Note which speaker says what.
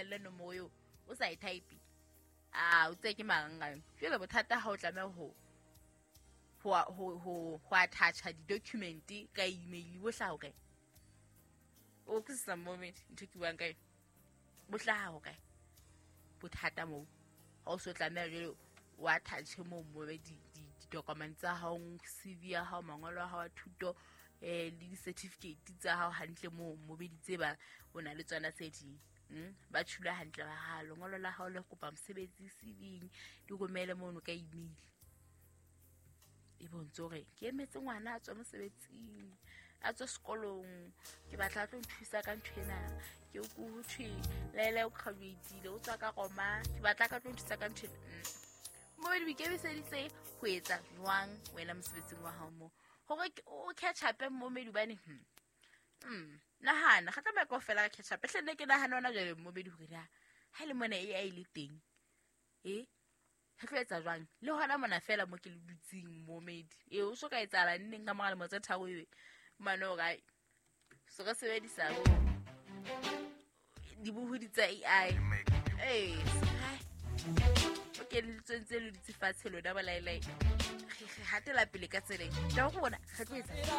Speaker 1: romelle nomoro eo o sa e type, a o tseye ke marangrang. Jwale bothata ha o tlameha ho attach-a di-document ka email, bo hlaha ho kae? O utlwisisa momedi ntho ke buang ka yona? Bo hlaha ho kae bothata moo ha o so tlameha jwale o attach-e moo mobe di-document tsa hao, CV ya hao, mangolo a hao a thuto, le di-certificate tsa hao hantle moo mobe di tseba o na le tsona tse ding. Ba tshula hantle ba ha lengolo la hao le kopa mosebetsi, CV, di romele mono ka email. E bontse hore ke emetse ngwana a tswe mosebetsing, a tswe sekolong, ke batla a tlo nthusa ka ntho ena. Ke o ko ho thwe laele o graduate-ile, o tswa ka Roma, ke batla ka tlo nthusa ka ntho ena. Mo di ikemiseditse ho etsa jwang wena mosebetsing wa hao moo hore o catch up momedi? Hobane nahana ga tlameha kaofela ka catch up hle. Nne ke nahana hona jwale momedi hore na ha e le mona AI le teng, e re tlo etsa jwang le hona mona fela mo ke le dutseng momedi. E o so ka etsahala nneng ka mora lemo tse 3 ebe mane hore ai so re sebedisa bo dibohodi tsa AI. Ee, o ke le dutse fatshe lona bolaelae, re hatela pele ka tseleng taba go bona re tlo etsa.